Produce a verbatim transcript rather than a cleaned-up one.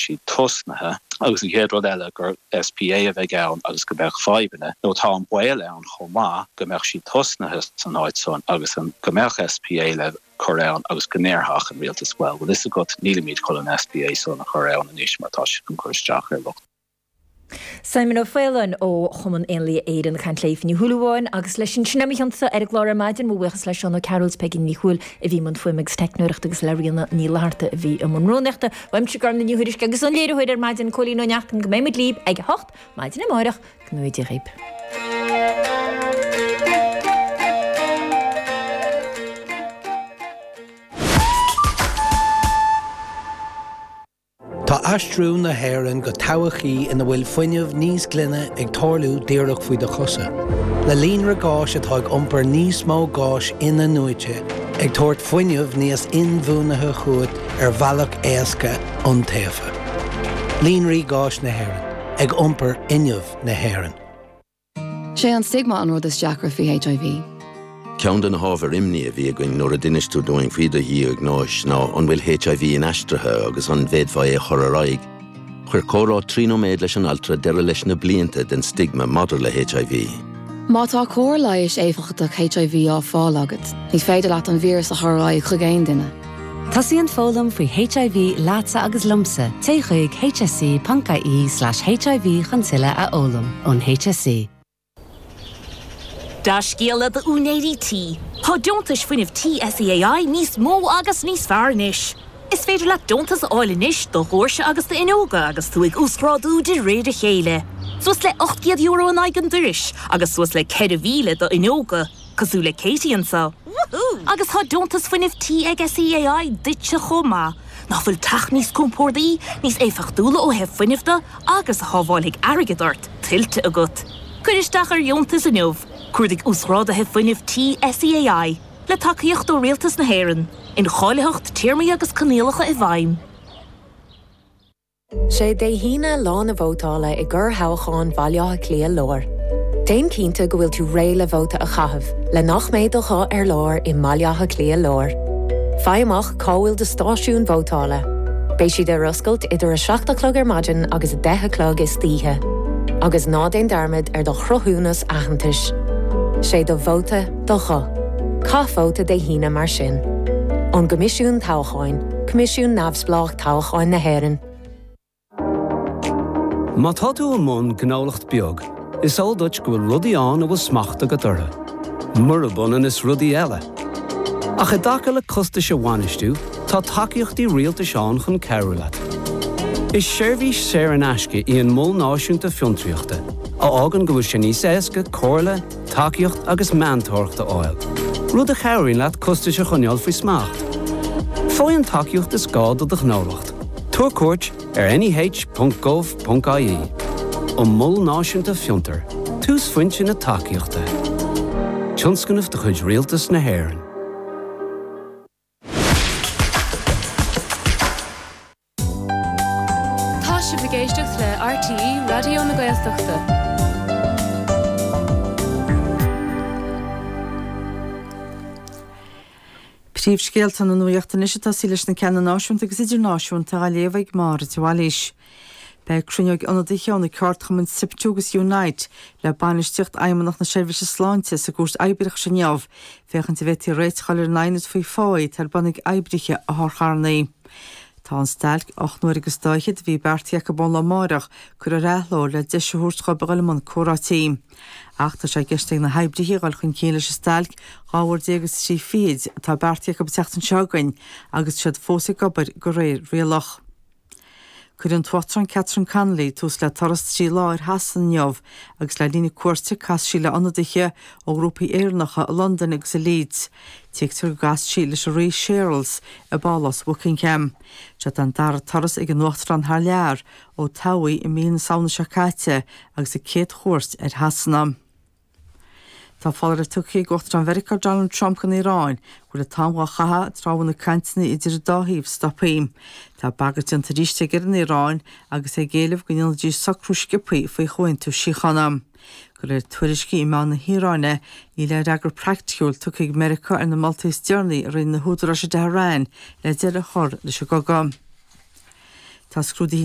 siad tosnaithe agus an chéad rud eile gur SPA a bheidh ann agus go mbeadh fadhbanna nó tá an baol ann chomh maith go mbeadh siad tosnaithe san áit san agus an go mbeadh SPA le cur ann agus go ndéarfadh an rialtas well bhfuil fhios agat nílimid chun an SPA san a chur ann anois mar tá sé chun cur isteach ar lucht Simon Ó Faoláin ó Chumann Éanlaithe Éireann ag caint le Ní Shúilleabháin agus leis sin sin a chionsa ar an gclár ar maidin mo bhuíochas le Seán Ó Cearúil Peigí Ní Thuathail a bhí i mbun fuaime agus teicneoireachta agus le Ríona Ní Fhlatharta a bhí i mbun rúnaíochta. Uaimse Gormfhlaith Ní Thuairisg agus an léiritheoir ar maidin Cóilín Ó Neachtain go mbeidh muid libh ag a hocht maidin amárach go ngnóthaí Dia dhaoibh. Tá aistriú na hÉireann go todhchaí ina bhfuil fuinneamh níos glaine ag tarlú díreach faoi do chosa. Le líonra gáis atá ag iompar níos mó gáis in-athnuaite, ag tabhairt fuinneamh níos inbhuanaithe chugat ar bhealach éasca iontaofa. Líonraí Gáis na hÉireann, ag iompar fhuinneamh na hÉireann. Sé an stigma an rud is deacra faoi HIV. Ceann de na hábhair imní a bhí againn nuair a d'inis tú dúinn faoi do dhiagnóis ná an bhfuil HIV inaistrithe agus an bhféadfá é a chur ar aghaidh. Chuir comhrá trí nóiméad leis an altra deireadh leis na blianta den stigma maidir le HIV. Má tá cóir leighis éifeachtach HIV á fáil agat, ní féidir leat an víreas a chur ar aghaidh chuig aon duine. Tosaíonn foghlaim faoi HIV leatsa agus liomsa, téigh chuig hse.ie slash HIV chun tuilleadh a fhoghlaim ón HSE. Dea-scéala d'úinéirí tí. Tá deontais fuinnimh tí SEAI níos mó agus níos fearr anois. Is féidir leat deontas a fháil anois do dhoirse agus d'fhuinneoga agus tú ag uasghrádú de réir a chéile. Suas le ocht gcéad euro in aghaidh an dorais agus suas le ceithre mhíle d'fhuinneoga, cosúil le Katie anseo. Woohoo! Agus tá deontas fuinnimh tí ag SEAI duitse chomh maith. Nach bhfuil teach níos compordaí, níos éifeachtúla ó thaobh fuinnimh de agus a shábhálfaidh airgead ort, tuillte agat. Cuir isteach ar dheontas inniu. Cuardaigh Uasghráduithe Fuinnimh Tí SEAI, le tacaíocht ó Rialtas na hÉireann. Incháilitheacht, téarmaí agus coinníollacha i bhfeidhm. Sé Dé hAoine lá na vótála i gcorrthoghchán Bhaile Átha Cliath Láir. Déan cinnte go bhfuil tú réidh le vóta a chaitheamh, le nach mbeidh do ghuth ar lár i mBaile Átha Cliath Láir. Faigh amach cá bhfuil do stáisiún vótála. Beidh siad ar oscailt idir a seacht a chlog ar maidin agus a deich a chlog istoíche. Agus ná déan dearmad ar do chruthúnas aitheantais. Sé do vóta do ghuth. Caith vóta Dé hAoine mar sin. Ón gCoimisiún Toghcháin, Coimisiún Neamhspleách Toghcháin na hÉireann. Má tá tú i mbun gnólacht beag, is eol duit go bhfuil rudaí ann a bhfuil smacht agat orthu, murab ionann is rudaí eile. Ach i dtaca le costais a bhainistiú, tá tacaíochtaí rialtais ann chun cabhrú leat. Is seirbhís saor in aisce í an Mol Náisiúnta Fiontraíochta, a fhágann go bhfuil sé níos éasca comhairle, tacaíocht agus meantóireacht a fháil, rud a chabhraíonn leat costais a choinneáil faoi smacht. Faigh an tacaíocht is gá do do ghnólacht. Tabhair cuairt ar neh.gov.ie. An Mol Náisiúnta Fiontar, túsphointe na tacaíochta. Tionscnamh de chuid Rialtas na hÉireann. Tá sibh ag éisteacht le RTÉ Raidió na Gaeltachta. Príomhscéalta na nuachta anois ag tosaí leis na ceanna náisiúnta agus idirnáisiúnta á léamh ag Máire de Bhailís. Beidh cruinniú ag ionadaithe ó na ceardchumainn SIPTU agus Unite le bainistíocht Fheidhmeannacht na Seirbhíse Sláinte sa gCúirt Oibreachais inniu féachaint an bhféadfaí réiteach a fháil ar an aighneas faoi phá atá ar bun ag oibrithe otharcharranna. Tá an stailc ocht n-uaire agus dá fhichead a bhí beartaithe acu ón lá amárach curtha ar athló le deis a thabhairt dhóibh a dhul i mbun comhráití. Ach tá sé i gceist ag na hoibrithe a dhul chun cinn leis an stailc dhá uair déag agus trí fichid atá beartaithe acu an tseachtain seo chugainn agus siad fós ag obair de réir rialach. Cuirfidh an tUachtarán Catherine Connolly tús le turas trí lá ar Shasana inniu agus le linn a cuairte casfaidh sí le ionadaithe ó ghrúpaí Éireannacha i Londain agus i Leeds. Tuigtear go gcasfaidh sí leis an Rí Séarlas i bPálás Bhuckingham. Seo an dara turas ag an Uachtarán thar lear ó toghadh í i mí na Samhna seo caite agus a céad chuairt ar Shasana. Tá foláireamh tugtha ag Uachtarán Mheiriceá Donald Trump don Iaráin go bhfuil an t-am dhá chaitheamh i dtreo a bhfuil na cainteanna idir an dá thaobh stoptha. Tá bagairt déanta arís aige ar an Iaráin agus é ag éileamh go ndéanfaidís socrú sciobtha faoi chomhaontú síochána. De réir tuairiscí i meáin na hIaráine, níl aon fhreagra praiticiúil tugtha ag Meiriceá ar na moltaí is deireanaí a rinne na húdaráis i dTehran le deireadh a chur leis an gcogadh. Tá scrúduithe